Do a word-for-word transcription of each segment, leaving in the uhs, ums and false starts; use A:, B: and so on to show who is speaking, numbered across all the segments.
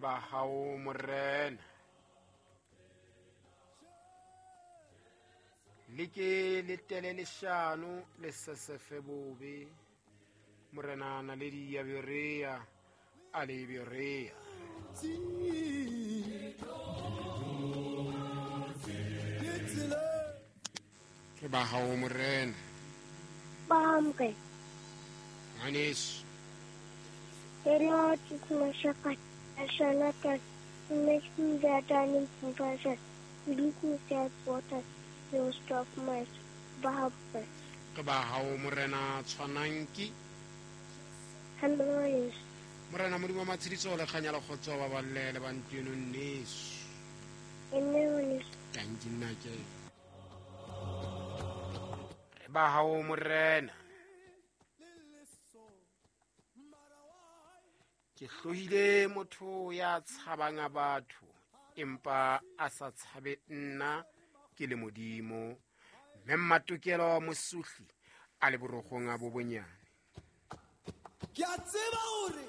A: Re ba hao morena. Le ke le tele leshano le sesefe bobe. Morena naledi ya Berea a le Berea. Re ba hao morena.
B: Bamke.
A: Ngwaneso.
B: The Lord is my shepherd. I shall not lack. He makes me lie down in green pastures. He leads me beside waters. He restores my soul.
A: Re ba hao morena tshwanang ke.
B: Hallelujah.
A: Morena Modimo wa matshediso le kganya le kgotso ba balle le ba ntlo eno nneso.
B: Amen.
A: Thank you nna ke. Re ba hao morena. Ke hlohile motho ya tshabang a batho empa a sa tshabe nna ke le Modimo. Mme Mmatokelo Mosuhli a le borogong a bo bonyane.
C: Ke a tseba hore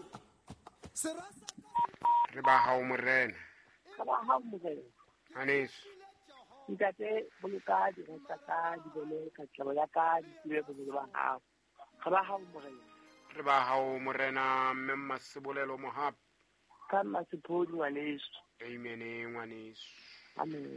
C: sera sa
A: Re ba hao morena.
D: Re ba hao morena.
A: Ngwaneso.
D: Ntate boloka dira tsa ka di bone katlego ya ka di tsebe boholo ba hao. Re ba hao morena.
A: Re ba hao morena mme Mmasebolelo Mohapi.
D: Ka Mmasephodi ngwaneso.
A: Amen ngwaneso.
D: Amen.